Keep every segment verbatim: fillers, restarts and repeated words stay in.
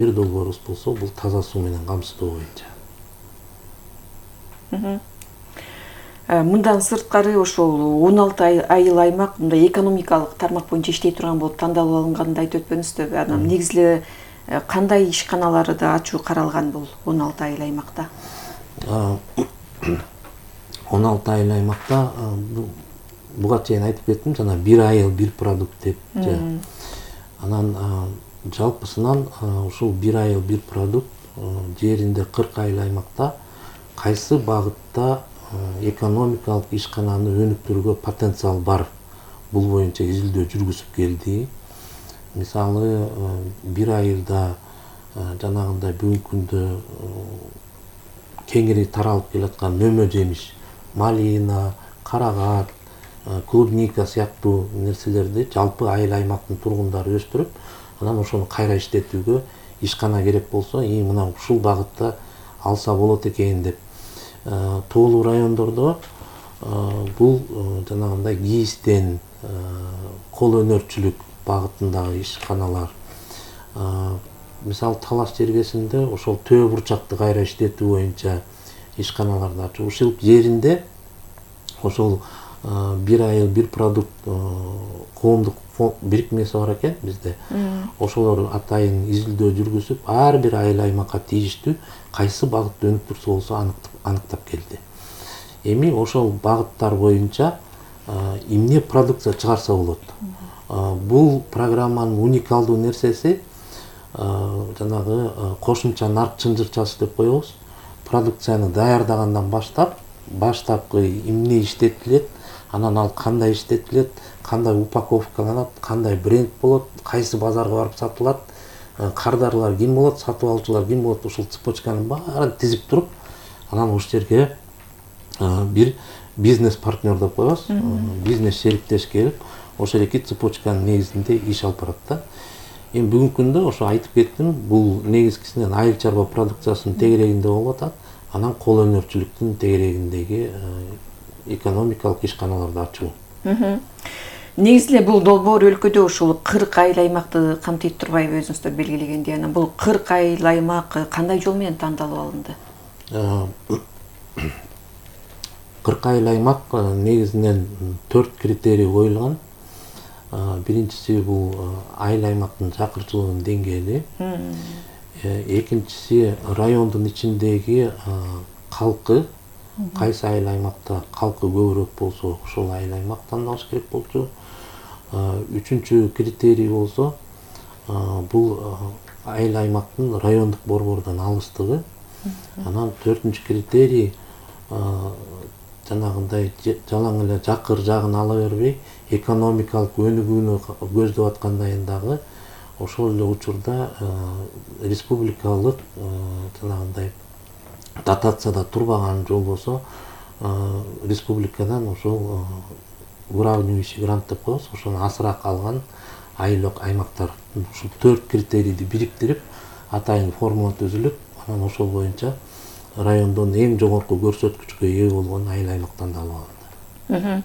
бир долбоорубуз болсо бул таза суу менен камсыздоо боюнча. Мындан сырткары ошол он алты айыл аймак мындай экономикалык тармак боюнча иштей турган болуп тандалып алынганын айтып өтпөдүңүзбү? Анан негизи эле кандай ишканаларды да ачуу каралган бул он алты айыл аймакта? он алты айыл аймакта буга чейин айтып кеттим, жана бир айыл бир продукт деп. Анан жалпысынан ушул бир айыл бир продукт жеринде кырк айыл аймакта кайсы багытта экономикалык ишкананы өнүктүрүүгө потенциал бар, бул боюнча изилдөө жүргүзүп келди. Мисалы, бир айылда жанагындай бүгүнкү күндө кеңири таралып келаткан мөмө жемиш, малина, карагат, клубника сыяктуу нерселерди жалпы айыл аймактын тургундары өстүрүп, анан ошону кайра иштетүүгө ишкана керек болсо, и мына ушул багытта алса болот экен деп. Тоолуу райондордо бул жанагындай кийизден кол өнөрчүлүк багытындагы ишканалар. Мисалы, Талаш жергесинде ошол төө бурчакты кайра иштетүү боюнча ишканаларды ачуу. Ушул жеринде ошол бир айыл бир продукт коомдук бирикмеси бар экен бизде. Ошолор атайын изилдөө жүргүзүп, ар бир айыл аймакка тийиштүү кайсы багытты өнүктүрсө болсо аныктап келди. Эми ошол багыттар боюнча эмне продукция чыгарса болот? Бул программанын уникалдуу нерсеси жанагы кошумча нарк чынжырчасы деп коебуз. Продукцияны даярдагандан баштап, баштапкы эмне иштетилет, анан ал кандай иштетилет, кандай упаковкаланат, кандай бренд болот, кайсы базарга барып сатылат, кардарлар ким болот, сатып алуучулар ким болот, ушул цепочканын баарын тизип туруп, анан ушул жерге бир бизнес партнер деп коебуз, бизнес шериктеш келип, ошол эки цепочканын негизинде иш алып барат да. Эми бүгүнкү күндө ошо айтып кеттим, бул негизгисинен айыл чарба продукциясынын тегерегинде болуп атат, анан кол өнөрчүлүктүн тегерегиндеги экономикалык ишканаларды ачуу. Негизи эле бул долбоор өлкөдө ушул кырк айыл аймакты камтыйт турбайбы өзүңүздөр белгилегендей? Анан бул кырк айыл аймак кандай жол менен тандалып алынды? кырк айыл аймак негизинен төрт критерий коюлган. Биринчиси бул айыл аймактын жакырчылыгынын деңгээли. Экинчиси райондун ичиндеги калкы. Кайсы айыл аймакта калкы көбүрөөк болсо, ошол айыл аймак тандалыш керек болчу. Үчүнчү критерий болсо, бул айыл аймактын райондук борбордон алыстыгы. Анан төртүнчү критерий жанагындай жалаң эле жакыр жагын ала бербей, экономикалык өнүгүүнү көздөп аткандайын дагы ошол эле учурда республикалык жанагындай дотацияда турбаган жол болсо, республикадан ошол уравнивающий грант деп коебуз, ошону азыраак алган айыл аймактар. Ушул төрт критерийди бириктирип, атайын формула түзүлүп, анан ошол боюнча райондон эң жогорку көрсөткүчкө ээ болгон айыл аймак тандалып алынды.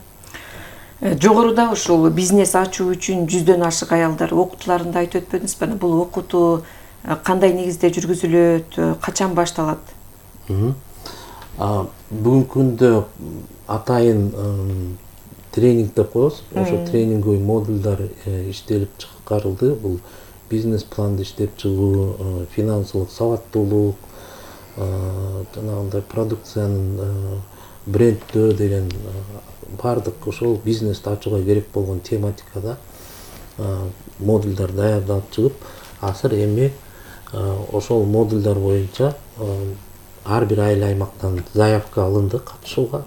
Жогоруда ушул бизнес ачуу үчүн жүздөн ашык аялдар окутууларында айтып өтпөдүңүзбү? Бул окутуу кандай негизде жүргүзүлөт, качан башталат? Бүгүнкү күндө атайын тренинг деп коебуз. Ошо тренингдеги модулдар иштелип чыгарылды. Бул бизнес планды иштеп чыгуу, финансылык сабаттуулук, жанагындай продукциянын бренддөө деген бардык ошол бизнести ачууга керек болгон тематикада модулдар даярдалып чыгып, азыр эми ошол модулдар боюнча ар бир айыл аймактан заявка алынды катышууга.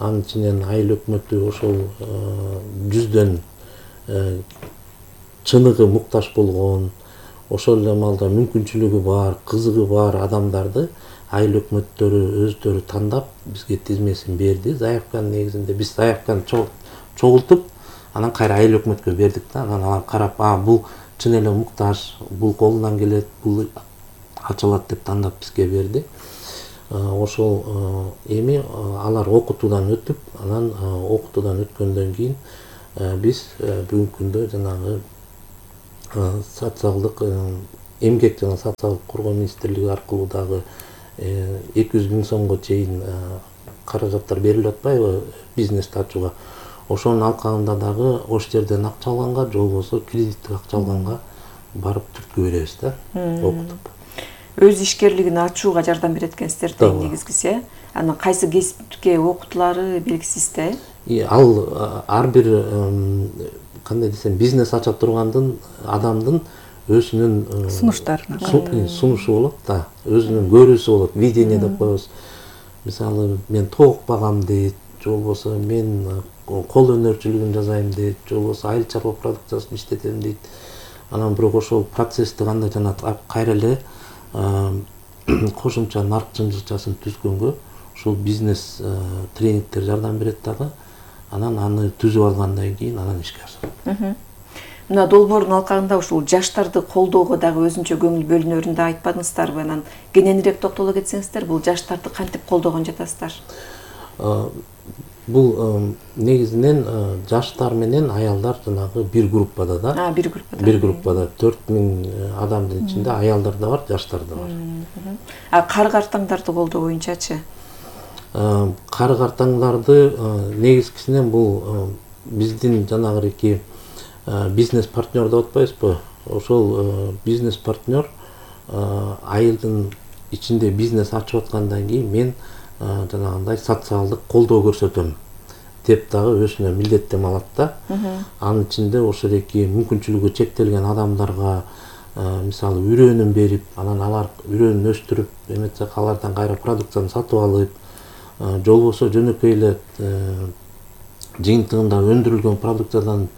Анын ичинен айыл өкмөтү ошол жүздөн чыныгы муктаж болгон, ошол эле маалда мүмкүнчүлүгү бар, кызыгы бар адамдарды айыл өкмөттөрү өздөрү тандап бизге тизмесин берди. Заявканын негизинде биз заявканы чогултуп, анан кайра айыл өкмөткө бердик да. Анан алар карап, а бул чын эле муктаж, бул колунан келет, бул ачылат деп тандап бизге берди. Ошол эми алар окутуудан өтүп, анан окутуудан өткөндөн кийин биз бүгүнкү күндө жанагы социалдык эмгек жана социалдык коргоо министрлиги аркылуу дагы эки жүз миң сомго чейин каражаттар берилип атпайбы бизнести ачууга. Ошонун алкагында дагы ош жерден акча алганга же болбосо кредиттик акча алганга барып түрткү беребиз да, окутуп. Өз ишкерлигин ачууга жардам берет экенсиздер да негизгиси, э? Анан кайсы кесипке окутулары белгисиз да, э? Ал ар бир кандай десем, бизнес ача тургандын адамдын өзүнүн сунуштарына сунушу болот да, өзүнүн көрүүсү болот, видение деп коебуз. Мисалы, мен тоок багам дейт, же болбосо мен кол өнөрчүлүгүн жасайм дейт, же болбосо айыл чарба продукциясын иштетем дейт. Анан бирок ошол процессти кандай жанат кайра эле кошумча нарк жынжырчасын түзгөнгө ушул бизнес тренингтер жардам берет дагы. Анан аны түзүп алгандан кийин анан ишке ашырат. Мына долбоордун алкагында ушул жаштарды колдоого дагы өзүнчө көңүл бөлүнөрүн да айтпадыңыздарбы? Анан кененирээк токтоло кетсеңиздер, бул жаштарды кантип колдогон жатасыздар? Бул негизинен жаштар менен аялдар жанагы бир группада да. А, бир группада. Бир группада төрт миң адамдын ичинде аялдар да бар, жаштар да бар. А кары картаңдарды колдоо боюнчачы? Кары картаңдарды негизгисинен бул биздин жанагы бизнес партнер деп атпайбызбы? Ошол бизнес партнер айылдын ичинде бизнес ачып аткандан кийин мен жанагындай социалдык колдоо көрсөтөм деп дагы өзүнө милдеттеме алат да. Анын ичинде ошол эки мүмкүнчүлүгү чектелген адамдарга мисалы үрөөнүн берип, анан алар үрөөнүн өстүрүп, эметсек алардан кайра продукцияны сатып алып, же болбосо жөнөкөй эле жыйынтыгында өндүрүлгөн продукциядан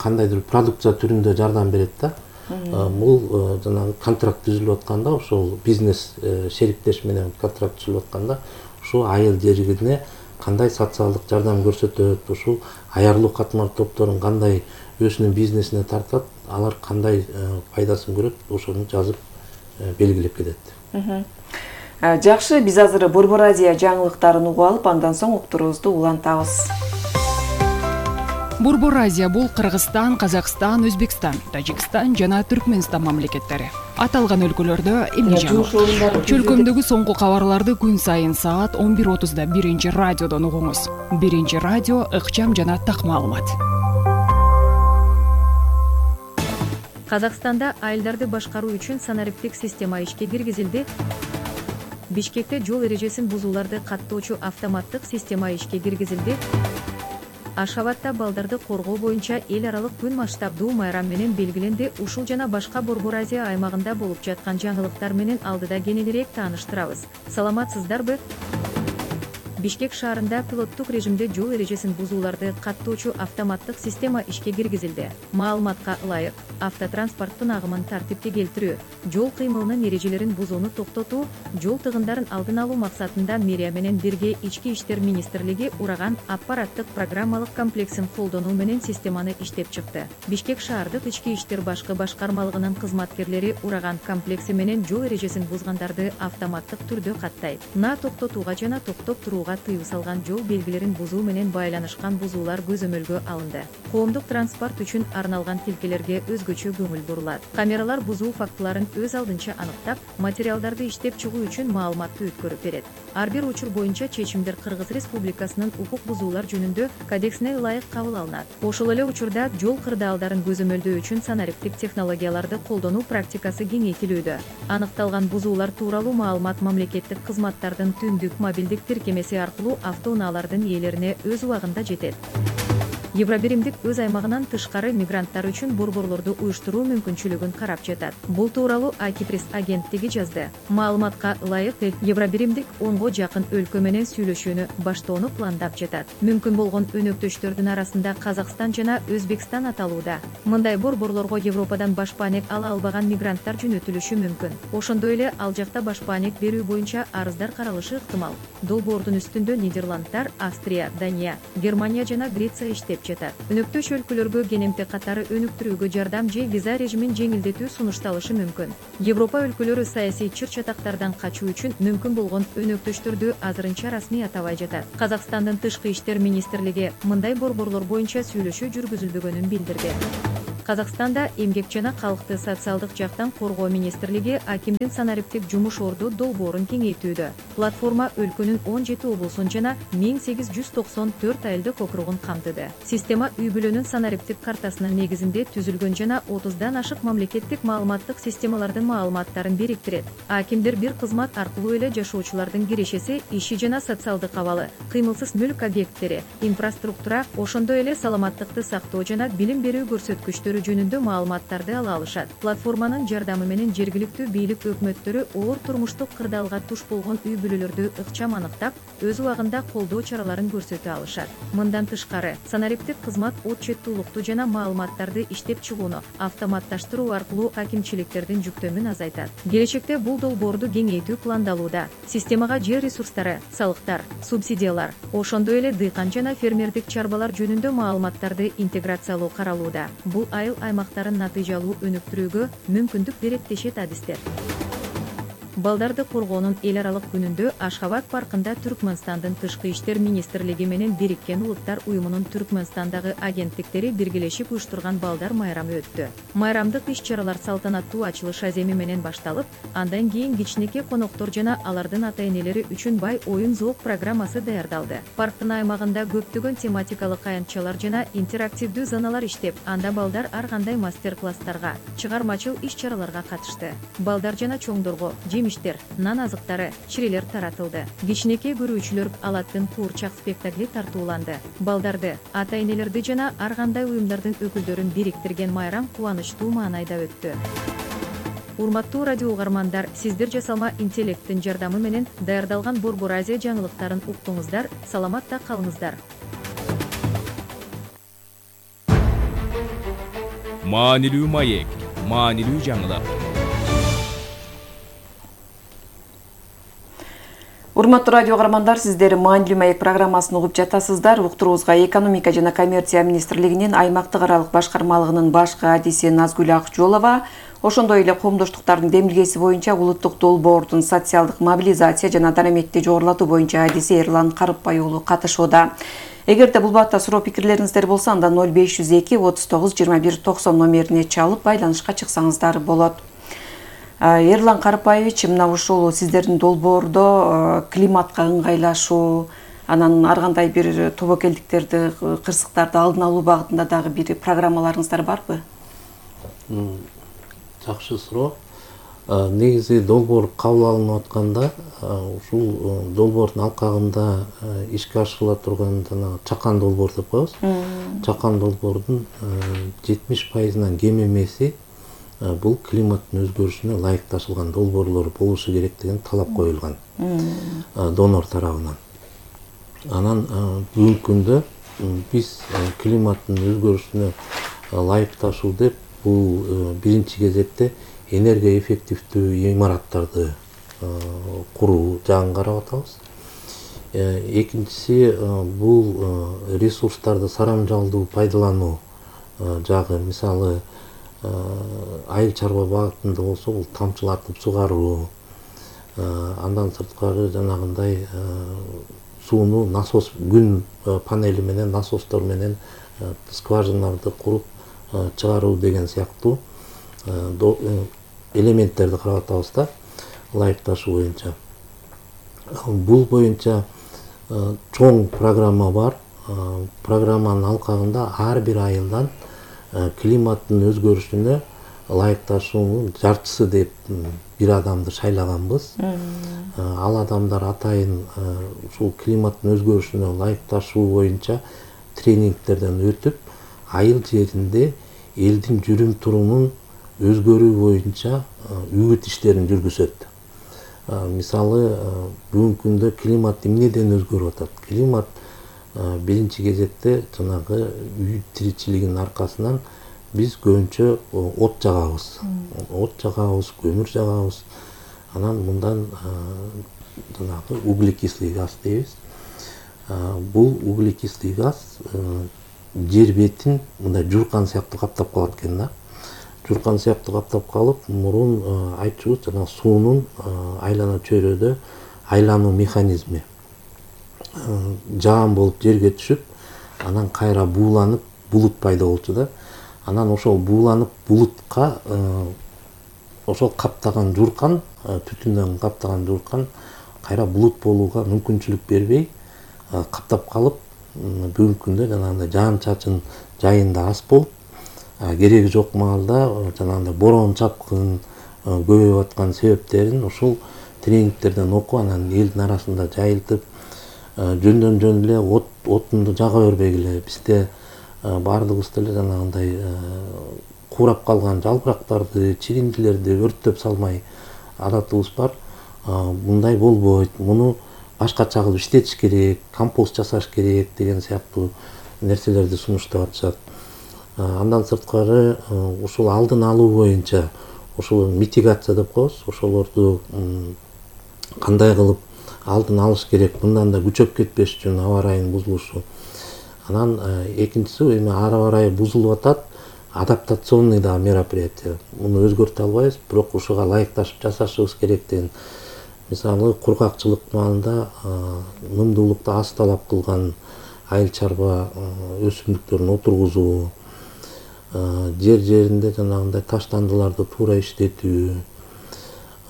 кандайдыр продукция түрүндө жардам берет да. Бул жанагы контракт түзүлүп атканда, ошол бизнес шериктеш менен контракт түзүлүп атканда, ушул айыл жеригине кандай социалдык жардам көрсөтөт, ушул аярлуу катмар топторун кандай өзүнүн бизнесине тартат, алар кандай пайдасын көрөт, ошону жазып белгилеп кетет. Жакшы, биз азыр Борбор Азия жаңылыктарын угуп алып, андан соң уктуруубузду улантабыз. Борбор Азия бул Кыргызстан, Казакстан, Өзбекстан, Тажикстан жана Түркмөнстан мамлекеттери. Аталган өлкөлөрдө эмне жаңылык? Чөлкөмдөгү соңку кабарларды күн сайын саат он бир отузда биринчи радиодон угуңуз. Биринчи радио ыкчам жана так маалымат. Казакстанда айылдарды башкаруу үчүн санариптик система ишке киргизилди. Бишкекте жол эрежесин бузууларды каттоочу автоматтык система ишке киргизилди. Ашхабадда балдарды коргоо боюнча эл аралык күн масштабдуу майрам менен белгиленди. Ушул жана башка Борбор Азия аймагында болуп жаткан жаңылыктар менен алдыда кененирээк тааныштырабыз. Саламатсыздарбы? Бишкек шаарында пилоттук режимде жол эрежесин бузууларды каттоочу автоматтык система ишке киргизилди. Маалыматка ылайык, автотранспорттун агымын тартипке келтирүү, жол кыймылынын эрежелерин бузууну токтотуу, жол тыгындарын алдын алуу максатында мэрия менен бирге Ички иштер министрлиги ураган аппараттык программалык комплексин колдонуу менен системаны иштеп чыкты. Бишкек шаардык ички иштер башкы башкармалыгынын кызматкерлери ураган комплекси менен жол эрежесин бузгандарды автоматтык түрдө каттайт. На токтотууга жана токтоп турууга тыюу салган жол белгилерин бузуу менен байланышкан бузуулар көзөмөлгө алынды. Коомдук транспорт үчүн арналган тилкелерге өзгөчө көңүл бурулат. Камералар бузуу фактыларын өз алдынча аныктап, материалдарды иштеп чыгуу үчүн маалыматты өткөрүп берет. Ар бир учур боюнча чечимдер Кыргыз Республикасынын укук бузуулар жөнүндө кодексине ылайык кабыл алынат. Ошол эле учурда жол кырдаалдарын көзөмөлдөө үчүн санариптик технологияларды колдонуу практикасы кеңейтилүүдө. Аныкталган бузуулар тууралуу маалымат мамлекеттик кызматтардын түндүк мобилдик тиркемеси аркылуу автоунаалардын ээлерине өз убагында жетет. Евробиримдик өз аймагынан тышкары мигранттар үчүн борборлорду уюштуруу мүмкүнчүлүгүн карап жатат. Бул тууралуу Акипресс агенттиги жазды. Маалыматка ылайык, Евробиримдик онго жакын өлкө менен сүйлөшүүнү баштоону пландап жатат. Мүмкүн болгон өнөктөштөрдүн арасында Казакстан жана Өзбекстан аталууда. Мындай борборлорго Европадан башпаанек ала албаган мигранттар жөнөтүлүшү мүмкүн. Ошондой эле ал жакта башпаанек берүү боюнча арыздар каралышы ыктымал. Долбоордун үстүндө Нидерландтар, Австрия, Дания, Германия жана Греция иштеп жатат. Өнөктөш өлкөлөргө кенемте катары өнүктүрүүгө жардам же виза режимин жеңилдетүү сунушталышы мүмкүн. Европа өлкөлөрү саясий чыр-чатактардан качуу үчүн мүмкүн болгон өнөктөштөрдү азырынча расмий атабай жатат. Казакстандын тышкы иштер министрлиги мындай борборлор боюнча сүйлөшүү жүргүзүлбөгөнүн билдирди. Казакстанда эмгек жана калкты социалдык жактан коргоо министрлиги акимдин санариптик жумуш орду долбоорун кеңейтүүдө. Платформа өлкөнүн он жети облусун жана миң сегиз жүз токсон төрт айылдык округун камтыды. Система үй-бүлөнүн санариптик картасынын негизинде түзүлгөн жана отуздан ашык мамлекеттик маалыматтык системалардын маалыматтарын бириктирет. Акимдер бир кызмат аркылуу эле жашоочулардын кирешеси, иши жана социалдык абалы, кыймылсыз мүлк объекттери, инфраструктура, ошондой эле саламаттыкты сактоо жана билим берүү көрсөткүчтөрү жөнүндө маалыматтарды ала алышат. Платформанын жардамы менен жергиликтүү бийлик өкмөттөрү оор турмуштук кырдаалга туш болгон үй-бүлөлөрдү ыкчам аныктап, өз убагында колдоо чараларын көрсөтө алышат. Мындан тышкары, санариптик кызмат отчеттуулукту жана маалыматтарды иштеп чыгууну автоматташтыруу аркылуу акимчиликтердин жүктөмүн азайтат. Келечекте бул долбоорду кеңейтүү пландалууда. Системага жер ресурстары, салыктар, субсидиялар, ошондой эле дыйкан жана фермердик чарбалар жөнүндө маалыматтарды интеграциялоо каралууда. Бул айыл аймактарын натыйжалуу өнүктүрүүгө мүмкүндүк берет дешет адистер. Балдарды коргоонун эл аралык күнүндө Ашхабад паркында Түркмөнстандын тышкы иштер министрлиги менен Бириккен Улуттар уюмунун Түркмөнстандагы агенттиктери биргелешип уюштурган балдар майрамы өттү. Майрамдык иш-чаралар салтанаттуу ачылыш аземи менен башталып, андан кийин кичинекей коноктор жана алардын ата-энелери үчүн бай оюн-зоок программасы даярдалды. Парктын аймагында көптөгөн тематикалык аянтчалар жана интерактивдүү зоналар иштеп, анда балдар ар кандай мастер-класстарга, чыгармачыл иш-чараларга катышты. Балдар жана чоңдорго жемиштер, нан азыктары, чирелер таратылды. Кичинекей көрүүчүлөр Алаттын куурчак спектакли тартууланды. Балдарды, ата-энелерди жана ар кандай уюмдардын өкүлдөрүн бириктирген майрам кубанычтуу маанайда өттү. Урматтуу радио угармандар, сиздер жасалма интеллекттин жардамы менен даярдалган Борбор Азия жаңылыктарын уктуңуздар, саламатта калыңыздар. Маанилүү маек, маанилүү жаңылык. Урматтуу радио угармандар, сиздер Маанилүү маек программасын угуп жатасыздар. Уктуруубузга экономика жана коммерция министрлигинин аймактык аралык башкармалыгынын башкы адиси Назгүл Акжолова, ошондой эле коомдоштуктардын демилгеси боюнча улуттук долбоордун социалдык мобилизация жана дараметти жогорулатуу боюнча адиси Эрлан Карыпбай уулу катышууда. Эгерде бул баатта суроо пикирлериңиздер болсо, анда ноль беш жүз эки отуз тогуз жыйырма бир токсон номерине чалып байланышка чыксаңыздар болот. Эрлан Карыпбаевич, мына ушул сиздердин долбоордо климатка ыңгайлашуу, анан ар кандай бир тобокелдиктерди, кырсыктарды алдын алуу багытында дагы бир программаларыңыздар барбы? Жакшы суроо. Негизи долбоор кабыл алынып атканда, ушул долбоордун алкагында ишке ашырыла турган жана чакан долбоор деп коебуз. Чакан долбоордун жетимиш пайызынан кем эмеси бул климаттын өзгөрүшүнө ылайыкташылган долбоорлор болушу керек деген талап коюлган донор тарабынан. Анан бүгүнкү күндө биз климаттын өзгөрүшүнө ылайыкташуу деп бул биринчи кезекте энергия эффективдүү имараттарды куруу жагын карап атабыз. Экинчиси бул ресурстарды сарамжалдуу пайдалануу жагы, мисалы айыл чарба багытында болсо бул тамчылатып сугаруу, андан сырткары жанагындай сууну насос, күн панели менен, насостор менен скважиналарды куруп чыгаруу деген сыяктуу элементтерди карап атабыз да, ылайыкташуу боюнча. Бул боюнча чоң программа бар. Программанын алкагында ар бир айылдан климаттын өзгөрүшүнө ылайыкташуунун жарчысы деп бир адамды шайлаганбыз. Ал адамдар атайын ушул климаттын өзгөрүшүнө ылайыкташуу боюнча тренингтерден өтүп, айыл жеринде элдин жүрүм турумун өзгөрүү боюнча үгүт иштерин жүргүзөт. Мисалы, бүгүнкү күндө климат эмнеден өзгөрүп атат? Климат биринчи кезекте жанагы үй тиричилигинин аркасынан биз көбүнчө от жагабыз. От жагабыз, көмүр жагабыз. Анан мындан жанагы углекислый газ дейбиз. Бул углекислый газ жер бетин мындай журкан сыяктуу каптап калат экен да. Журкан сыяктуу каптап калып, мурун айтчубуз жана суунун айлана чөйрөдө айлануу механизми жаан болуп жерге түшүп, анан кайра бууланып булут пайда болчу да. Анан ошол бууланып булутка ошол каптаган жууркан, түтүндөн каптаган жууркан кайра булут болууга мүмкүнчүлүк бербей каптап калып, бүгүнкү күндө жанагындай жаан чачын жайында аз болуп, кереги жок маалда жанагындай бороон чапкын көбөйүп аткан себептерин ушул тренингтерден окуп, анан элдин арасында жайылтып, жөндөн жөн эле от отунду жага бербегиле, бизде баардыгыбыз деле жанагындай куурап калган жалбырактарды, чириндилерди өрттөп салмай адатыбыз бар. Мындай болбойт, муну башкача кылып иштетиш керек, компост жасаш керек деген сыяктуу нерселерди сунуштап атышат. Андан сырткары ушул алдын алуу боюнча, ушул митигация деп коебуз, ошолорду кандай кылып алдын алыш керек, мындан да күчөп кетпеш үчүн аба ырайынын бузулушу. Анан экинчиси, эми аба ырайы бузулуп атат, адаптационный да мероприятие. Муну өзгөртө албайбыз, бирок ушуга ылайыкташып жашашыбыз керек деген. Мисалы, кургакчылык маалында нымдуулукту аз талап кылган айыл чарба өсүмдүктөрүн отургузуу, жер жеринде жанагындай таштандыларды туура иштетүү.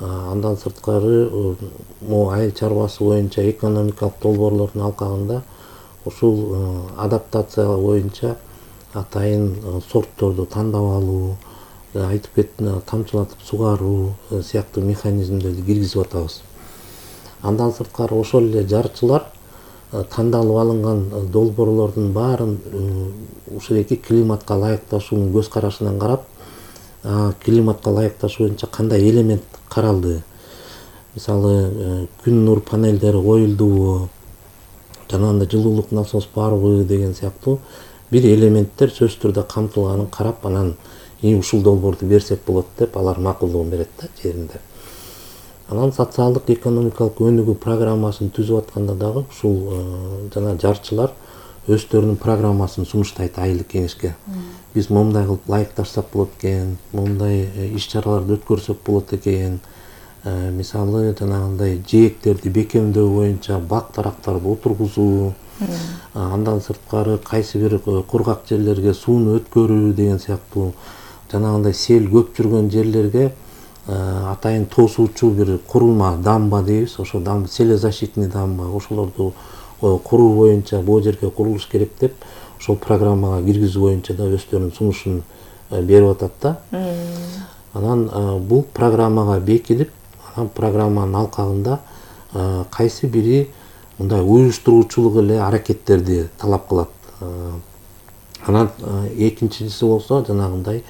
Андан сырткары могу айыл чарбасы боюнча экономикалык долбоорлордун алкагында ушул адаптация боюнча атайын сортторду тандап алуу, айтып кеттим, тамчылатып сугаруу сыяктуу механизмдерди киргизип атабыз. Андан сырткары ошол эле жарчылар тандалып алынган долбоорлордун баарын ушундайки климатка ылайыкташуунун көз карашынан карап, климатка ылайыкташуу боюнча кандай элемент каралды. Мисалы, күн нур панелдери коюлдубу, жанагындай жылуулук насос барбы деген сыяктуу бир элементтер сөзсүз түрдө камтылганын карап, анан ушул долбоорду берсек болот деп алар макулдугун берет да жеринде. Анан социалдык экономикалык өнүгүү программасын түзүп атканда дагы ушул жана жарчылар өздөрүнүн программасын сунуштайт айылдык кеңешке. Биз момундай кылып ылайыкташсак болот экен, момундай иш чараларды өткөрсөк болот экен. Мисалы, жанагындай жээктерди бекемдөө боюнча бак тарактарды отургузуу, андан сырткары кайсы бир кургак жерлерге сууну өткөрүү деген сыяктуу, жанагындай сел көп жүргөн жерлерге атайын тосуучу бир курулма, дамба дейбиз, ошо дамба, селезащитный дамба, ошолорду куруу боюнча бул жерге курулуш керек деп, ошол программага киргизүү боюнча да өздөрүнүн сунушун берип атат да. Анан бул программага бекилип, анан программанын алкагында кайсы бири мындай уюштуруучулук эле аракеттерди талап кылат. Анан экинчиси болсо жанагындай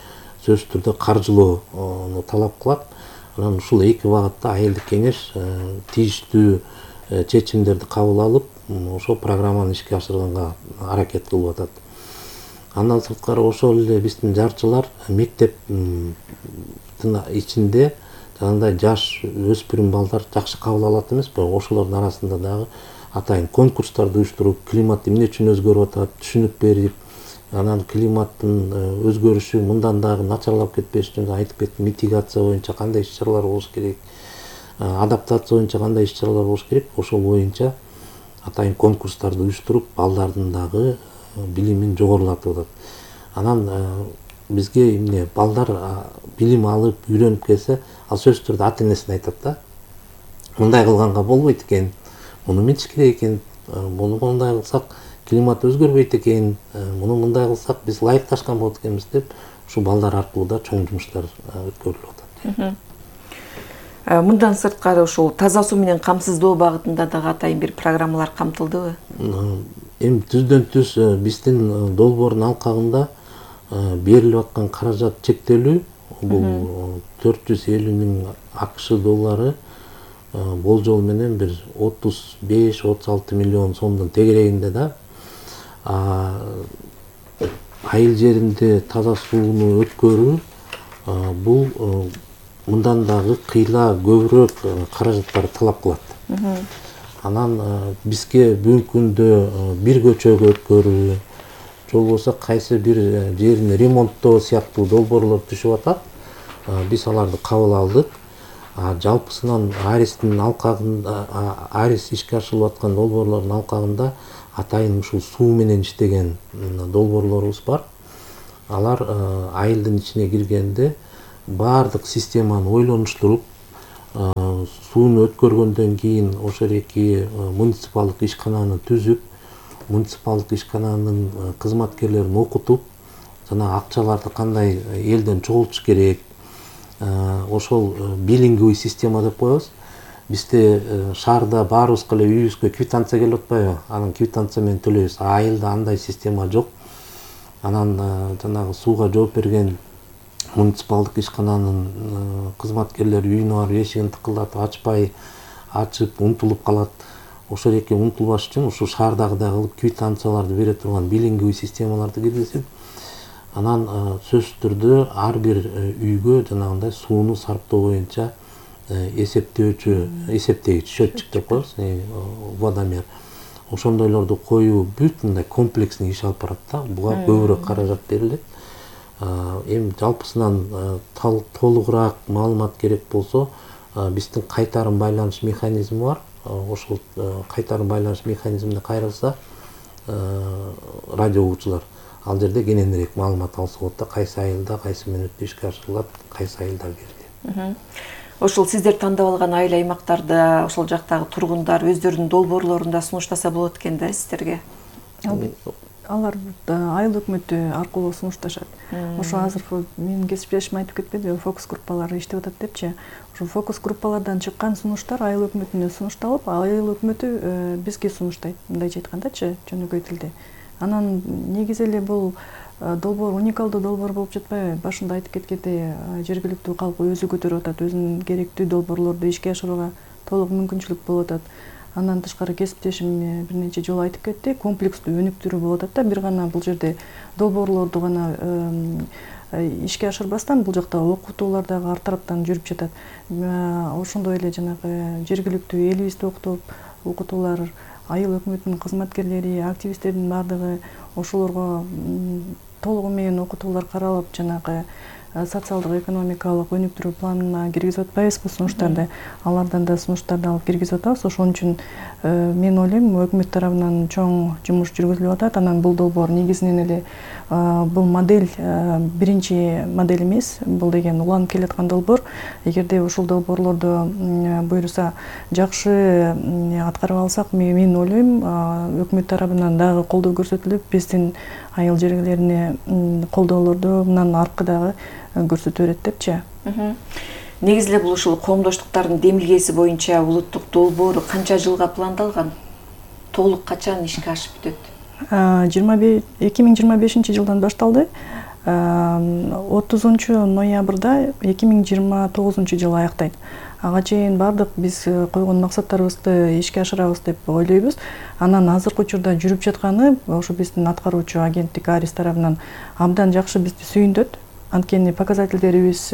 сөзсүз түрдө каржылоону талап кылат. Анан ушул эки багытта айылдык кеңеш тийиштүү чечимдерди кабыл алып, ошол программаны ишке ашырганга аракет кылып атат. Андан сырткары ошол эле биздин жарчылар мектептин ичинде жанагындай жаш өспүрүм балдар жакшы кабыл алат эмеспи? Ошолордун арасында дагы атайын конкурстарды уюштуруп, климат эмне үчүн өзгөрүп атат, түшүнүк берип, анан климаттын өзгөрүшү мындан дагы начарлап кетпеш үчүн айтып кеттим, митигация боюнча кандай иш чаралар болуш керек, адаптация боюнча кандай иш чаралар болуш керек, ошол боюнча атайын конкурстарды уюштуруп, балдардын дагы билимин жогорулатып атат. Анан бизге эмне балдар билим алып, үйрөнүп келсе, ал сөзсүз түрдө ата энесине айтат да. Мындай кылганга болбойт экен, муну мынтиш керек экен, муну мындай кылсак климат өзгөрбөйт экен, муну мындай кылсак биз ылайыкташкан болот экенбиз деп, ушу балдар аркылуу да чоң жумуштар өткөрүлүп атат. Мындан сырткары ушул таза суу менен камсыздоо багытында дагы атайын бир программалар камтылдыбы? Эми түздөн түз биздин долбоордун алкагында берилип аткан каражат чектелүү, бул төрт жүз элүү миң АКШ доллары болжол менен бир отуз беш отуз алты миллион сомдун тегерегинде да. Айыл жеринде таза сууну өткөрүү бул мындан дагы кыйла көбүрөөк каражаттар талап кылат. Анан бизге бүгүнкү күндө бир көчөгө өткөрүү, же болбосо кайсы бир жерин ремонттоо сыяктуу долбоорлор түшүп атат. Биз аларды кабыл алдык. Жалпысынан Арестин алкагында, Арес ишке ашырылып аткан долбоорлордун алкагында атайын ушул суу менен иштеген долбоорлорубуз бар. алар айылдын ичине киргенде баардык системаны ойлонуштуруп, сууну өткөргөндөн кийин ошол эки муниципалдык ишкананы түзүп, муниципалдык ишкананын кызматкерлерин окутуп, жана акчаларды кандай элден чогултуш керек, ошол билинговый система деп коебуз. Бизде шаарда баарыбызга эле үйүбүзгө квитанция келип атпайбы? Анан квитанция менен төлөйбүз. Айылда андай система жок. Анан жанагы сууга жооп берген муниципалдык ишкананын кызматкерлери үйүнө барып эшигин тыкылдатып ачпай, ачып унутулуп калат. Ошол эки унутулбаш үчүн ушу шаардагыдай кылып квитанцияларды бере турган билинговый системаларды киргизип, анан сөзсүз түрдө ар бир үйгө жанагындай сууну сарптоо боюнча эсептөөчү, эсептегич, счетчик деп коебуз, водомер. Ошондойлорду коюу бүт мындай комплексный иш алып барат да. Буга көбүрөөк каражат берилет. Эми жалпысынан толугураак маалымат керек болсо, биздин кайтарым байланыш механизми бар. Ошол кайтарым байланыш механизмине кайрылса, радио угуучулар ал жерде кененирээк маалымат алса болот да, кайсы айылда кайсы мүнөттө ишке ашырылат, кайсы айылдар кирди. Ошол сиздер тандап алган айыл аймактарда ошол жактагы тургундар өздөрүнүн долбоорлорунда сунуштаса болот экен да сиздерге. Алар айыл өкмөтү аркылуу сунушташат. Ошо азыр менин кесиптешим айтып кетпеди, фокус группалары иштеп атат депчи. Ошо фокус группалардан чыккан сунуштар айыл өкмөтүнө сунушталып, айыл өкмөтү бизге сунуштайт, мындайча айткандачы, жөнөкөй тилде. Анан негизи эле бул долбоор уникалдуу долбоор болуп жатпайбы? Башында айтып кеткендей, жергиликтүү калк өзү көтөрүп атат, өзүнүн керектүү долбоорлорду ишке ашырууга толук мүмкүнчүлүк болуп атат. Андан тышкары кесиптешим бир нече жолу айтып кетти, комплекстүү өнүктүрүү болуп атат да. Бир гана бул жерде долбоорлорду гана ишке ашырбастан, бул жакта окутуулар дагы ар тараптан жүрүп жатат. Ошондой эле жанагы жергиликтүү элибизди окутуп, окутуулар, айыл өкмөтүнүн кызматкерлери, активисттердин баардыгы ошолорго толугу менен окутуулар каралып, жанагы социалдык экономикалык өнүктүрүү планына киргизип атпайбызбы сунуштарды? Алардан да сунуштарды алып киргизип атабыз. Ошон үчүн мен ойлойм, өкмөт тарабынан чоң жумуш жүргүзүлүп атат. Анан бул долбоор негизинен эле бул модель биринчи модель эмес, бул деген уланып келаткан долбоор. Эгерде ушул долбоорлорду буюрса жакшы аткарып алсак, мен ойлойм, өкмөт тарабынан дагы колдоо көрсөтүлүп, биздин айыл жерлерине колдоолорду мындан аркы дагы көрсөтө берет депчи. Негизи эле бул ушул коомдоштуктардын демилгеси боюнча улуттук долбоору канча жылга пландалган? Толук качан ишке ашып бүтөт? эки миң жыйырма бешинчи жылдан башталды. отузунчу ноябрда эки миң жыйырма тогузунчу жылы аяктайт. Ага чейин бардык биз койгон максаттарыбызды ишке ашырабыз деп ойлойбуз. Анан азыркы учурда жүрүп жатканы ошо биздин аткаруучу агенттик Арис тарабынан абдан жакшы бизди сүйүндүрөт. Анткени показательдерибиз,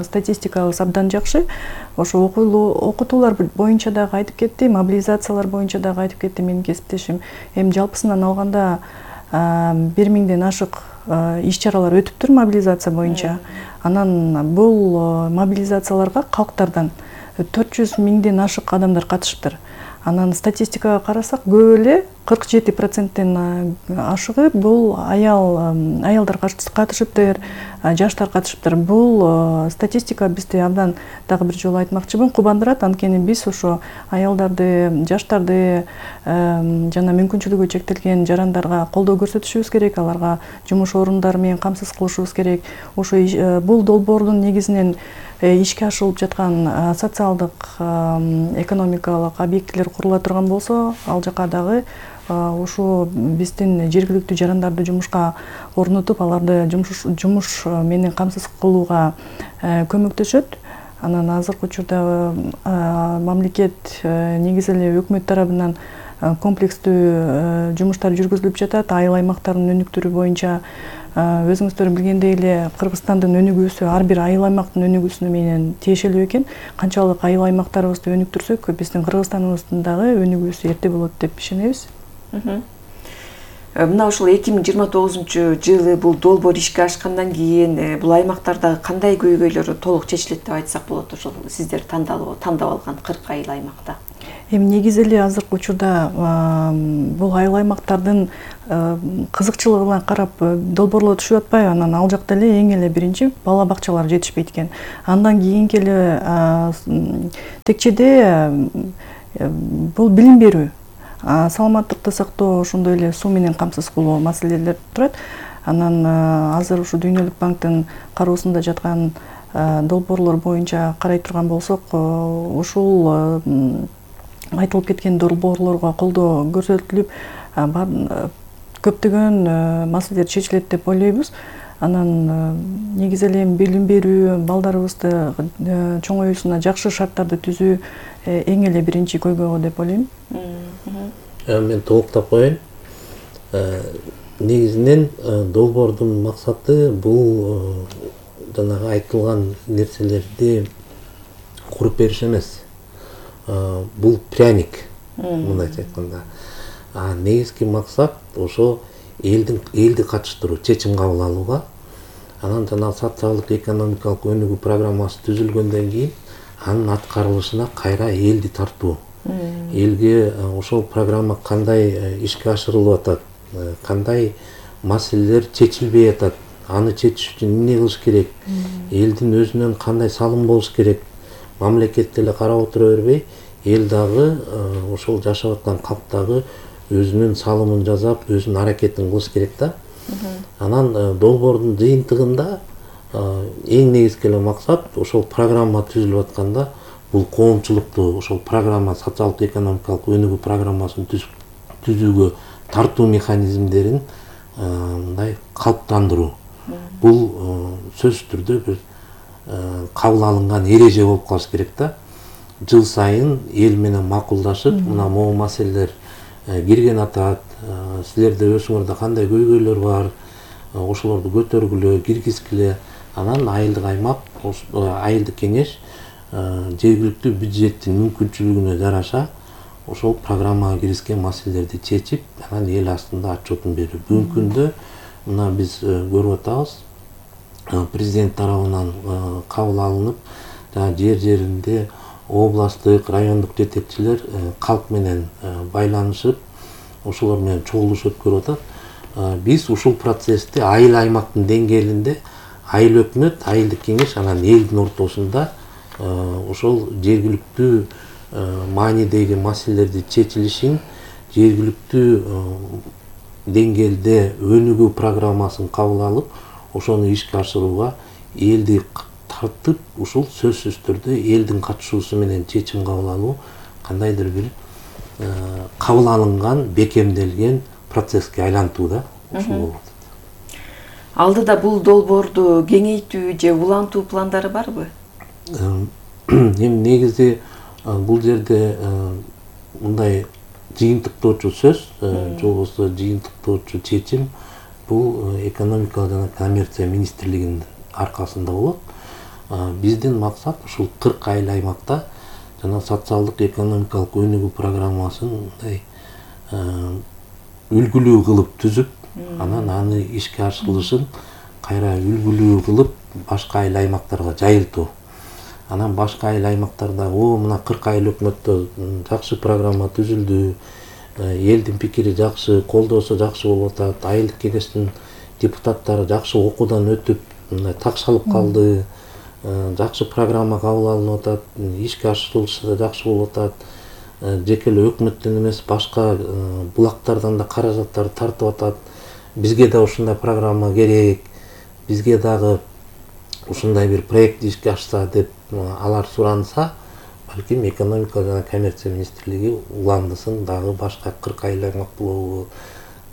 статистикабыз абдан жакшы. Ошо окутуулар боюнча дагы айтып кетти, мобилизациялар боюнча дагы айтып кетти менин кесиптешим. Эми жалпысынан алганда бир миңден ашык иш-чаралар өтүптүр мобилизация боюнча. Анан бул мобилизацияларга калктардан төрт жүз миңден ашык адамдар катышыптыр. Анан статистикага карасак, көп эле кырк жети проценттен ашыгы бул аял аялдар катышыптыр, жаштар катышыптыр. Бул статистика бизди абдан дагы бир жолу айтмакчымын, кубандырат. Анткени биз ошо аялдарды, жаштарды жана мүмкүнчүлүгү чектелген жарандарга колдоо көрсөтүшүбүз керек, аларга жумуш орундары менен камсыз кылышыбыз керек. Ошо бул долбоордун негизинен ишке ашырылып жаткан социалдык, экономикалык объектилер курула турган болсо, ал жака дагы ошо биздин жергиликтүү жарандарды жумушка орнотуп, аларды жумуш жумуш менен камсыз кылууга көмөктөшөт. Анан азыркы учурда мамлекет негизи эле өкмөт тарабынан комплекстүү жумуштар жүргүзүлүп жатат. Айыл аймактарын өнүктүрүү боюнча өзүңүздөр билгендей эле Кыргызстандын өнүгүүсү ар бир айыл аймактын өнүгүүсүнө менен тиешелүү экен. Канчалык айыл аймактарыбызды өнүктүрсөк, биздин Кыргызстаныбыздын дагы өнүгүүсү эрте болот деп ишенебиз. Мына ушул эки миң жыйырма тогузунчу жылы бул долбоор ишке ашкандан кийин бул аймактардагы кандай көйгөйлөр толук чечилет деп айтсак болот, ошол сиздер тандап тандап алган кырк айыл аймакта? Эми негизи эле азыркы учурда бул айыл аймактардын кызыкчылыгына карап долбоорлор түшүп атпайбы? Анан ал жакта эле эң эле биринчи бала бакчалар жетишпейт экен. Андан кийинки эле текчеде бул билим берүү, саламаттыкты сактоо, ошондой эле суу менен камсыз кылуу маселелер турат. Анан азыр ушу Дүйнөлүк банктын кароосунда жаткан долбоорлор боюнча карай турган болсок, ушул айтылып кеткен долбоорлорго колдоо көрсөтүлүп, көптөгөн маселелер чечилет деп ойлойбуз. Анан негизи эле билим берүү, балдарыбызды чоңоюусуна жакшы шарттарды түзүү эң эле биринчи көйгөй деп ойлойм. Мен толуктап коеюн. Негизинен долбоордун максаты бул жанагы айтылган нерселерди куруп бериш эмес. Бул пряник, мындайча айтканда. А негизги максат ошо элдин элди катыштыруу, чечим кабыл алууга. Анан жана социалдык экономикалык өнүгүү программасы түзүлгөндөн кийин анын аткарылышына кайра элди тартуу. Элге ошол программа кандай ишке ашырылып атат, кандай маселелер чечилбей атат, аны чечиш үчүн эмне кылыш керек, элдин өзүнөн кандай салым болуш керек, мамлекет эле карап отура бербей, эл дагы ошол жашап аткан калк дагы өзүнүн салымын жасап, өзүнүн аракетин кылыш керек да. Анан долбоордун жыйынтыгында эң негизги эле максат ошол программа түзүлүп атканда бул коомчулукту ошол программа социалдык экономикалык өнүгүү программасын түзүүгө тартуу механизмдерин мындай калыптандыруу. Бул сөзсүз түрдө бир кабыл алынган эреже болуп калыш керек да. Жыл сайын эл менен макулдашып, мына могу маселелер кирген атат, силерде өзүңөрдө кандай көйгөйлөр бар, ошолорду көтөргүлө, киргизгиле. Анан айылдык аймак, айылдык кеңеш жергиликтүү бюджеттин мүмкүнчүлүгүнө жараша ошол программага киргизген маселелерди чечип, анан эл астында отчетун берүү. Бүгүнкү күндө мына биз көрүп атабыз, президент тарабынан кабыл алынып, жер жеринде областтык, райондук жетекчилер калк менен байланышып, ошолор менен чогулуш өткөрүп атат. Биз ушул процессти айыл аймактын деңгээлинде айыл өкмөт, айылдык кеңеш, анан элдин ортосунда ошол жергиликтүү маанидеги маселелерди чечилишин, жергиликтүү деңгээлде өнүгүү программасын кабыл алып, ошону ишке ашырууга элди тартып, ушул сөзсүз түрдө элдин катышуусу менен чечим кабыл алуу кандайдыр бир кабыл алынган, бекемделген процесске айлантуу да, ушул болуп атат. Алдыда бул долбоорду кеңейтүү же улантуу пландары барбы? Эми негизи бул жерде мындай жыйынтыктоочу сөз, же болбосо жыйынтыктоочу чечим бул экономика жана коммерция министрлигинин аркасында болот. Биздин максат ушул кырк айыл аймакта жана социалдык экономикалык өнүгүү программасын мындай үлгүлүү кылып түзүп, анан аны ишке ашырылышын кайра үлгүлүү кылып башка айыл аймактарга жайылтуу. Анан башка айыл аймактарда о мына кырк айыл өкмөттө жакшы программа түзүлдү, элдин пикири жакшы, колдоосу жакшы болуп атат, айылдык кеңештин депутаттары жакшы окуудан өтүп, мындай такшалып калды, жакшы программа кабыл алынып атат, ишке ашырылышы жакшы болуп атат. Жеке эле өкмөттөн эмес, башка булактардан да каражаттар тартып атат. Бизге да ушундай программа керек, бизге дагы ушундай бир проект ишке ашса деп алар суранса, балким экономика жана коммерция министрлиги уландысын дагы башка кырк айыл аймак болобу,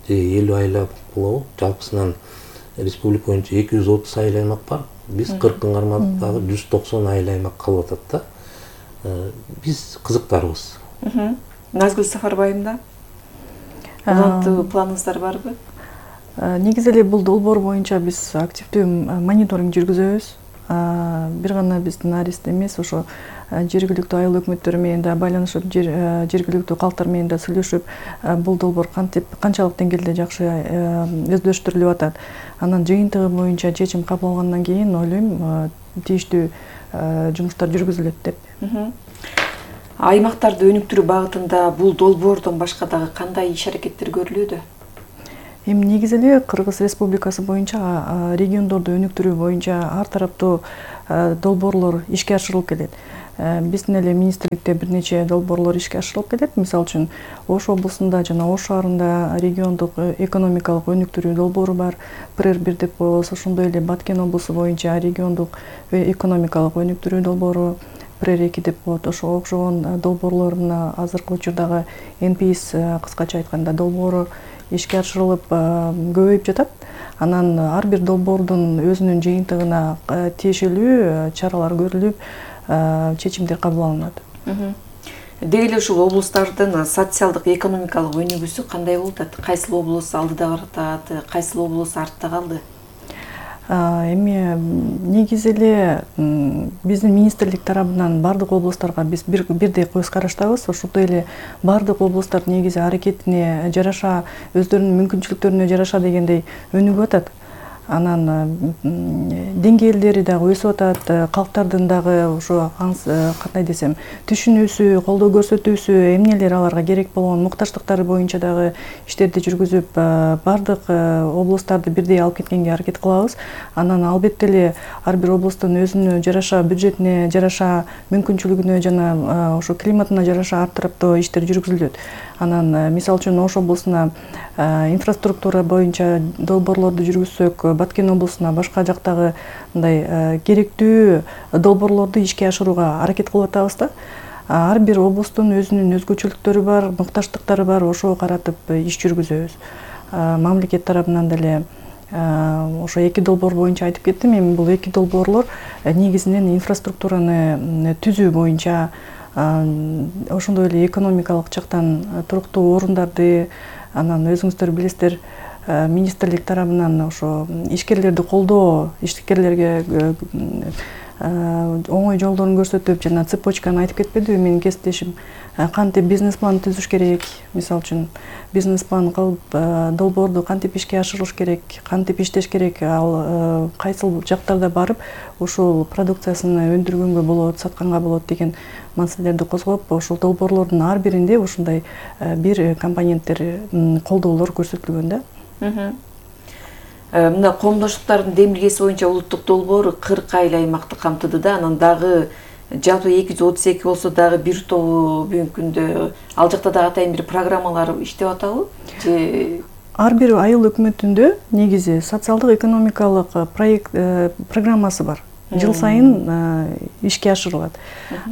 же элүү айыл аймак болобу. Жалпысынан республика боюнча эки жүз отуз айыл аймак бар. Биз кырктын кармадык дагы жүз токсон айыл аймак калып атат да. Биз кызыктарбыз. Назгүл Сафарбайымда улантуу планыңыздар барбы? Негизи эле бул долбоор боюнча биз активдүү мониторинг жүргүзөбүз. Бир гана биздин арест эмес, ошо жергиликтүү айыл өкмөттөрү менен да байланышып, жергиликтүү калктар менен да сүйлөшүп, бул долбоор кантип канчалык деңгээлде жакшы өздөштүрүлүп атат. Анан жыйынтыгы боюнча чечим кабыл алгандан кийин ойлойм тийиштүү жумуштар жүргүзүлөт деп. Аймактарды өнүктүрүү багытында бул долбоордон башка дагы кандай иш аракеттер көрүлүүдө? Эми негизи эле Кыргыз Республикасы боюнча региондорду өнүктүрүү боюнча ар тараптуу долбоорлор ишке ашырылып келет. Биздин эле министрликте бир нече долбоорлор ишке ашырылып келет. Мисалы үчүн Ош облусунда жана Ош шаарында региондук экономикалык өнүктүрүү долбоору бар. Пр бир деп болсо, ошондой эле Баткен облусу боюнча региондук экономикалык өнүктүрүү долбоору Пр эки деп болот. Ошого окшогон долбоорлорун азыркы учурдагы эн пи эс кыскача айтканда долбоору ишке ашырылып көбөйүп жатат. Анан ар бир долбоордун өзүнүн жыйынтыгына тиешелүү чаралар көрүлүп, чечимдер кабыл алынат. Деги эле ушул облустардын социалдык экономикалык өнүгүүсү кандай болуп атат? Кайсыл облус алдыда баратат, кайсыл облус артта калды? Эми негизи эле биздин министрлик тарабынан бардык облустарга биз бирдей көз караштабыз. Ошондой эле бардык облустар негизи аракетине жараша, өздөрүнүн мүмкүнчүлүктөрүнө жараша дегендей өнүгүп атат. Анан деңгээлдери дагы өсүп атат, калктардын дагы ошо кандай десем, түшүнүүсү, колдоо көрсөтүүсү, эмнелер аларга керек болгон муктаждыктары боюнча дагы иштерди жүргүзүп, бардык облустарды бирдей алып кеткенге аракет кылабыз. Анан албетте эле ар бир облустун өзүнө жараша, бюджетине жараша, мүмкүнчүлүгүнө жана ошо климатына жараша ар тараптуу иштер жүргүзүлөт. Анан мисалы үчүн Ош облусуна инфраструктура боюнча долбоорлорду жүргүзсөк, Баткен облусуна башка жактагы мындай керектүү долбоорлорду ишке ашырууга аракет кылып атабыз да. Ар бир облустун өзүнүн өзгөчөлүктөрү бар, муктаждыктары бар, ошого каратып иш жүргүзөбүз. Мамлекет тарабынан деле ошо эки долбоор боюнча айтып кеттим. Эми бул эки долбоорлор негизинен инфраструктураны түзүү боюнча, ошондой эле экономикалык жактан туруктуу орундарды, анан өзүңүздөр билесиздер, министрлик тарабынан ошо ишкерлерди колдоо, ишкерлерге оңой жолдорун көрсөтүп, жана цепочканы айтып кетпедиби менин кесиптешим, кантип бизнес план түзүш керек, мисалы үчүн бизнес план кылып, долбоорду кантип ишке ашырыш керек, кантип иштеш керек, ал кайсыл жактарда барып ушул продукциясын өндүргөнгө болот, сатканга болот деген маселелерди козгоп, ошол долбоорлордун ар биринде ушундай бир компоненттер, колдоолор көрсөтүлгөн да. Мына коомдоштуктардын демилгеси боюнча улуттук долбоор кырк айыл аймакты камтыды да, анан дагы жалпы эки жүз отуз эки болсо дагы бир тобу бүгүнкү күндө ал жакта дагы атайын бир программалар иштеп атабы? Же ар бир айыл өкмөтүндө негизи социалдык экономикалык проект программасы бар. Жыл сайын ишке ашырылат.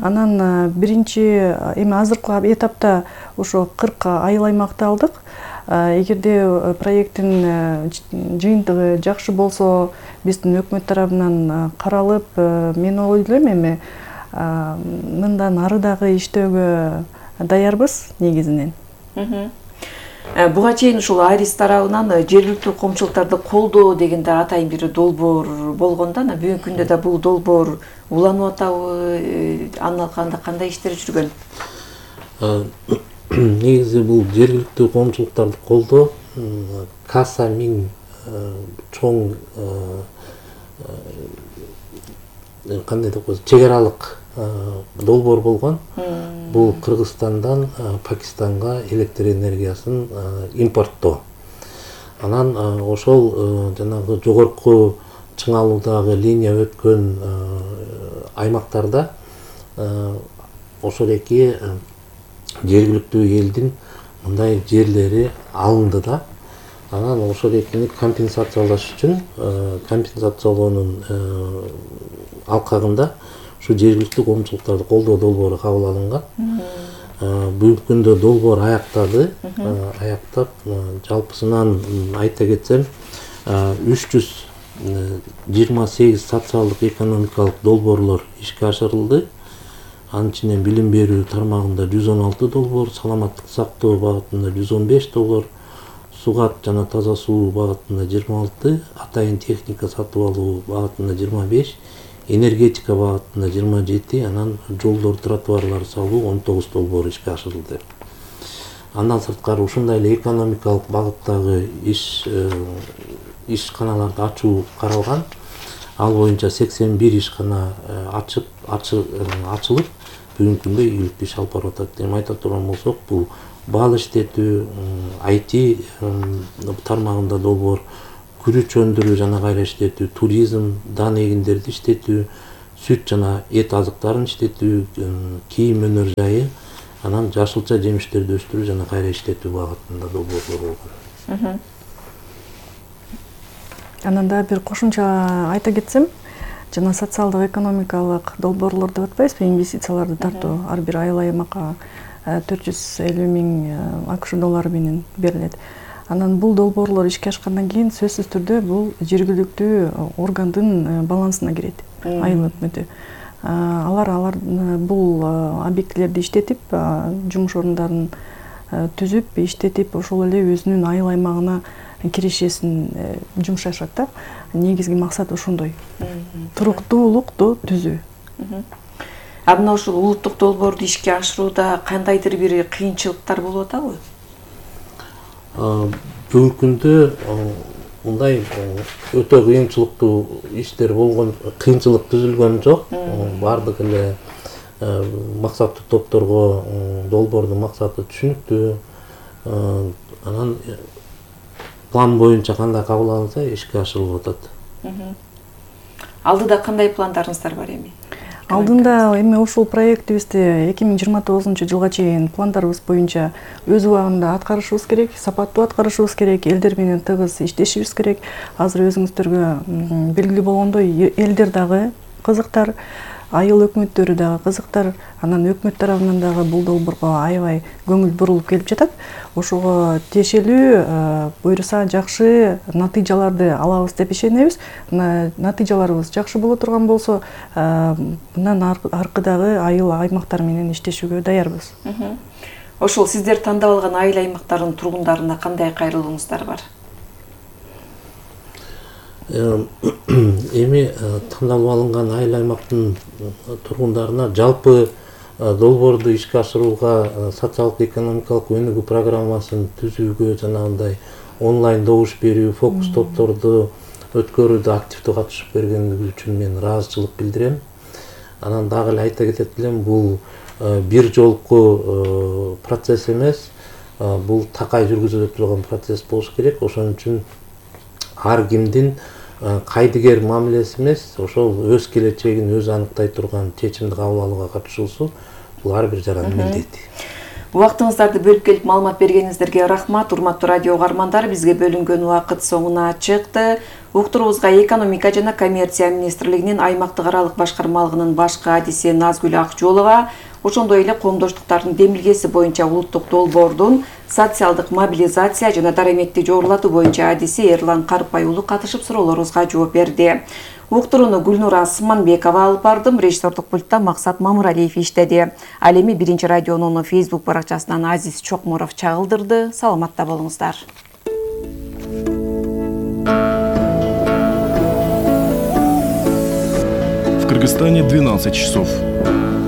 Анан биринчи эми азыркы этапта ошо кырк айыл аймакты алдык. Эгерде проекттин жыйынтыгы жакшы болсо, биздин өкмөт тарабынан каралып, мен ойлойм эми мындан ары дагы иштөөгө даярбыз негизинен. Буга чейин ушул Арис тарабынан жергиликтүү коомчулуктарды колдоо деген да атайын бир долбоор болгон да, бүгүнкү күндө да бул долбоор уланып атабы, анын алкагында кандай иштер жүргөн? Негизи бул жергиликтүү коомчулуктарды колдоо Каса миң чоң кандай деп коесуз, чек аралык долбоор болгон. Бул Кыргызстандан Пакистанга электр энергиясын импорттоо. Анан ошол жанагы жогорку чыңалуудагы линия өткөн аймактарда ошол эки жергиликтүү элдин мындай жерлери алынды да. Анан ошол экини компенсациялаш үчүн компенсациялоонун алкагында ушу жергиликтүү коомчулуктарды колдоо долбоору кабыл алынган. Бүгүнкү күндө долбоор аяктады. Аяктап, жалпысынан айта кетсем, үч жүз жыйырма сегиз социалдык экономикалык долбоорлор ишке ашырылды. Анын ичинен билим берүү тармагында жүз он алты долбоор, саламаттык сактоо багытында жүз он беш долбоор, сугат жана таза суу багытында жыйырма алты, атайын техника сатып алуу багытында жыйырма беш, энергетика багытында жыйырма жети, анан жолдор, тротуарлар салуу он тогуз долбоор ишке ашырылды. Андан сырткары ушундай эле экономикалык багыттагы иш ишканаларды ачуу каралган. Ал боюнча сексен бир ишкана ачып ачылып бүгүнкү күндө ийгиликтүү иш алып барып атат. Эми айта турган болсок, бул бал иштетүү, ай ти тармагында долбоор, күрүч өндүрүү жана кайра иштетүү, туризм, дан эгиндерди иштетүү, сүт жана эт азыктарын иштетүү, кийим өнөр жайы, анан жашылча жемиштерди өстүрүү жана кайра иштетүү багытында долбоорлор болгон. Анан да бир кошумча айта кетсем, жана социалдык экономикалык долбоорлор деп атпайбызбы, инвестицияларды тартуу ар бир айыл аймакка төрт жүз элүү миң АКШ доллары менен берилет. Анан бул долбоорлор ишке ашкандан кийин сөзсүз түрдө бул жергиликтүү органдын балансына кирет, айыл өкмөтү. Алар алар бул объектилерди иштетип, жумуш орундарын түзүп, иштетип, ошол эле өзүнүн айыл аймагына кирешесин жумшашат да. Негизги максат ошондой. Туруктуулукту түзүү. А мына ушул улуттук долбоорду ишке ашырууда кандайдыр бир кыйынчылыктар болуп атабы? Бүгүнкү күндө мындай өтө кыйынчылыктуу иштер болгон, кыйынчылык түзүлгөн жок. Бардык эле максаттуу топторго долбоордун максаты түшүнүктүү. Анан план боюнча кандай кабыл алынса ишке ашырылып атат. Алдыда кандай пландарыңыздар бар эми? Алдында эми ушул проектибизди эки миң жыйырма тогузунчу жылга чейин пландарыбыз боюнча өз убагында аткарышыбыз керек, сапаттуу аткарышыбыз керек, элдер менен тыгыз иштешибиз керек. Азыр өзүңүздөргө белгилүү болгондой, элдер дагы кызыктар, айыл өкмөттөрү дагы кызыктар, анан өкмөт тарабынан дагы бул долбоорго аябай көңүл бурулуп келип жатат. Ошого тиешелүү буюрса жакшы натыйжаларды алабыз деп ишенебиз. Натыйжаларыбыз жакшы боло турган болсо, мындан аркыдагы айыл аймактар менен иштешүүгө даярбыз. Ошол сиздер тандап алган айыл аймактардын тургундарына кандай кайрылууңуздар бар? Эми тандалып алынган айыл аймактын тургундарына жалпы долбоорду ишке ашырууга, социалдык экономикалык өнүгүү программасын түзүүгө жана андай онлайн добуш берүү, фокус топторду өткөрүүдө активдүү катышып бергендиги үчүн мен ыраазычылык билдирем. Анан дагы эле айта кетет элем, бул бир жолку процесс эмес, бул такай жүргүзүлө турган процесс болуш керек. Ошон үчүн ар кимдин кайдыгер мамилеси эмес, ошол өз келечегин өзү аныктай турган чечимди кабыл алууга катышуусу бул ар бир жарандын милдети. Убактыңыздарды бөлүп келип маалымат бергениңиздерге рахмат. Урматтуу радио угармандар, бизге бөлүнгөн убакыт соңуна чыкты. Уктуруубузга экономика жана коммерция министрлигинин аймактык аралык башкармалыгынын башкы адиси Назгүл Акжолова, ошондой эле коомдоштуктардын демилгеси боюнча улуттук долбоордун социалдык мобилизация жана дараметти жогорулатуу боюнча адиси Эрлан Карпай уулу катышып суроолорубузга жооп берди. Уктурууну Гүлнура Асманбекова алып бардым, режиссердук пультта Максат Мамыралиев иштеди. Ал эми биринчи радионун Facebook баракчасынан Азиз Чокморов чагылдырды. Саламатта болуңуздар. В Кыргызстане двенадцать часов.